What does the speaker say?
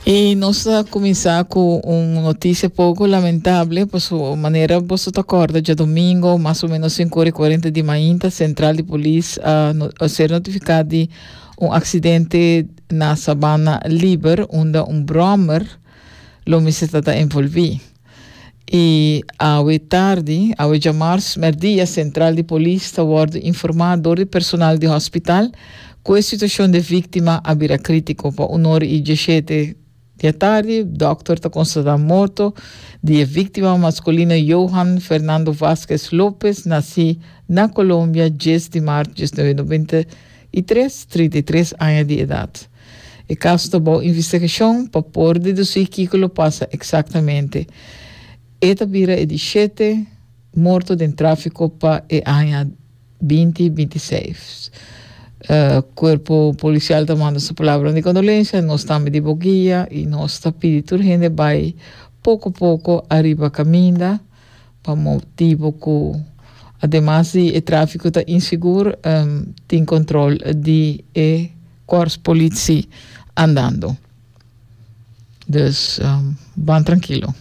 I nos ta kuminsá ku un notisia poko lamentable, paso manera boso ta kòrda djadomingo mas o menos sinku ora i kuarenta di mainta sentral di polis a a ser notifiká di un aksidente na Sabana Liber unda un bròmer lo mester ta ta envolví. I awe tardi, awe djamars mèrdia sentral di polis ta wòrdu informá dor di personal di hòspital ku e situashon di e víktima a bira krítiko. Pa un ora i dieshete di atardi dòkter ta konstatá morto di e víktima maskulino Johan Fernando Vásquez López, nasí na Colombia djes di mart 1993, 33 aña di edat. E kaso ta bou investigashon pa por dedusí kiko lo pasa eksaktamente. E ta bira e di shete morto den tráfiko pa e aña 2026. Kuerpo polisial ta manda su palabranan di kondolensia, nos tambe di bo guia i nos ta pidi tur hende bai poko poko ariba kaminda pa motibu ku ademas di e tráfiko ta insigur tin kontrol di e Korps politie andando. Dus um, ban tranquilo.